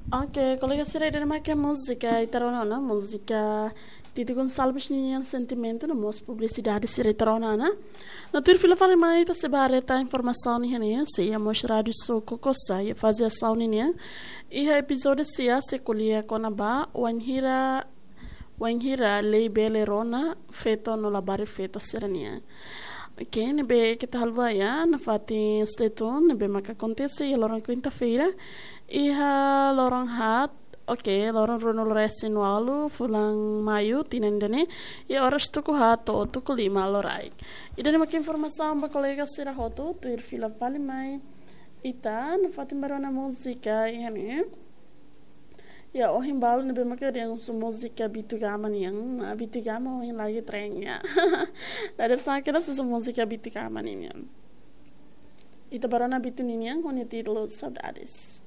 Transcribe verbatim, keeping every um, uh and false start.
Ok, kolega sira, ida-ne'e mak múzika ita rona ona, múzika Tito Gonçalves nian, Sentimentu, no mós publisidade sira ita rona ona. No tuir fila fali mai ita sei ba haree tan informasaun nian, sei iha mós Rádio Soco Coça, iha faze asaun nian. Iha epizódiu sia sei ko'alia kona-ba wainhira, wainhira lei bele rona feto no labarik feto sira-nian. Ok, ne'ebé keta haluha ya, nafatin stay tune, ne'ebé maka akontese iha loron kuinta-feira, iha loron haat, ok, loron ruanulu-resin-ualu, fulan Maiu, tinan ida-ne'e, iha oras tuku haat to'o tuku lima loraik. Ida-ne'e mak informasaun ba kolega sira hotu, tuir fila fali mai ita, nafatin ba rona múzika iha ne'e. Ya, ohin balu ne'ebé maka dehan husu múzika Bitu Gama nian, ah, Bitu Gama ohin lagi tren ya. Dadeer-saan kedas husu múzika Bitu Gama nian. Ita ba rona Bitu nian ho nia títulu Saudades.